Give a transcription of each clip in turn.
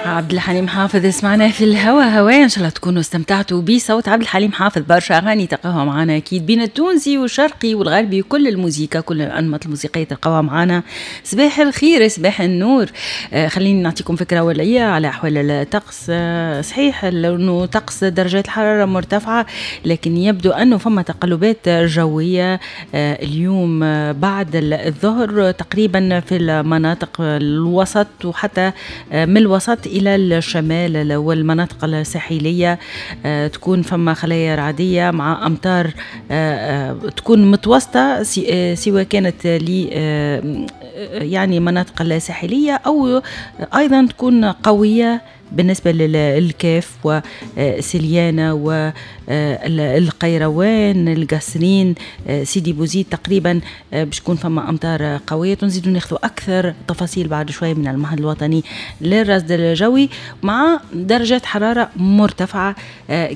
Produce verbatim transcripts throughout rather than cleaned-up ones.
عبد الحليم حافظ سمعنا في الهوا هوا. ان شاء الله تكونوا استمتعتوا بصوت عبد الحليم حافظ. برشا اغاني تلقاوها معنا اكيد بين التونسي والشرقي والغربي، كل الموسيقى، كل الانماط الموسيقية تلقاوها معنا. صباح الخير، صباح النور. آه خليني نعطيكم فكرة اوليه على احوال الطقس. آه صحيح انه طقس درجات الحرارة مرتفعه، لكن يبدو انه فما تقلبات جوية آه اليوم آه بعد الظهر تقريبا في المناطق الوسط وحتى آه من الوسط الى الشمال والمناطق الساحلية آه، تكون فما خلايا رعديه مع امطار آه، آه، تكون متوسطه، سواء كانت ل يعني مناطق الساحلية او ايضا تكون قوية بالنسبة للكاف وسليانة والقيروان، القصرين، سيدي بوزيد تقريبا باش تكون فما أمطار قوية. نزيدوا ناخذوا أكثر تفاصيل بعد شوية من المعهد الوطني للرصد الجوي، مع درجات حرارة مرتفعة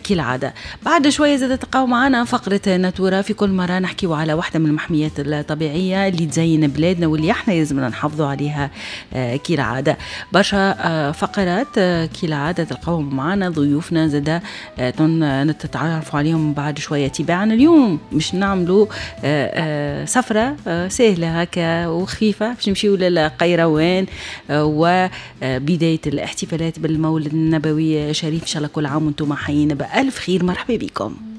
كالعادة. بعد شوية زاد تلقاو معنا فقرة natura. في كل مرة نحكيو على واحدة من المحميات الطبيعية اللي تزين بلادنا واللي احنا لازمنا نحافظوا عليها كالعادة. برشا فقرات كالعادة تلقاوهم معنا، ضيوفنا زادا نتعرفوا عليهم بعد شوية تباعا. اليوم باش نعملوا آه، آه، سفرة آه، سهلة هكا وخفيفة، باش نمشيو للقيروان وبداية الاحتفالات بالمولد النبوي الشريف. إن شاء الله كل عام وانتم حيين بألف خير. مرحبا بكم.